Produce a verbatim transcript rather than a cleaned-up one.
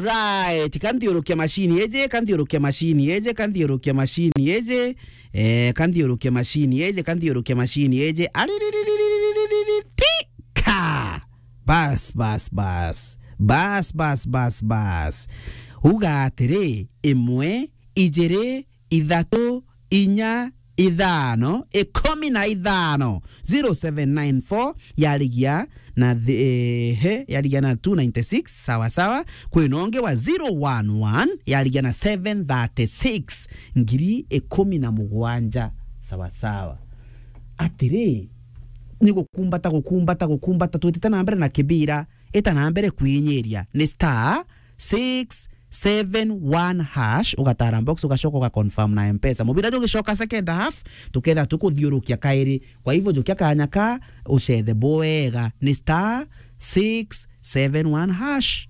Alright, kanthiurukia mashini eje, kanthiurukia mashini eje, kanthiurukia mashini eje. Eh, kanthiurukia mashini eje, kanthiurukia mashini eje. Ariririririririri, tika! Bas, bas, bas. Bas, bas, bas, bas. Uga atiri, imwe, ijiri, ithatu, inya, ithano, ikumi na ithano. Zero seven nine four yarigia na thi-, eh, he, yarigia na two ninety six, sawa sawa. Kwina ungi wa zero one one yarigia na seven thirty six, ngiri ikumi na mugwanja, sawa sawa. Atiri, ni gukumbata, gukumbata, gukumbata, twitite na mbere na kibira, ita na mbere kwinyiria, ni star six seven one hash, ugatara box, ugacoka ugaconfirm na Mpesa. Mubira jugicoka second half, tuketha tukuthiurukia kairi. Kwa hivyo, jukia kanya ka, ucethe bwega, ni star six seven one hash.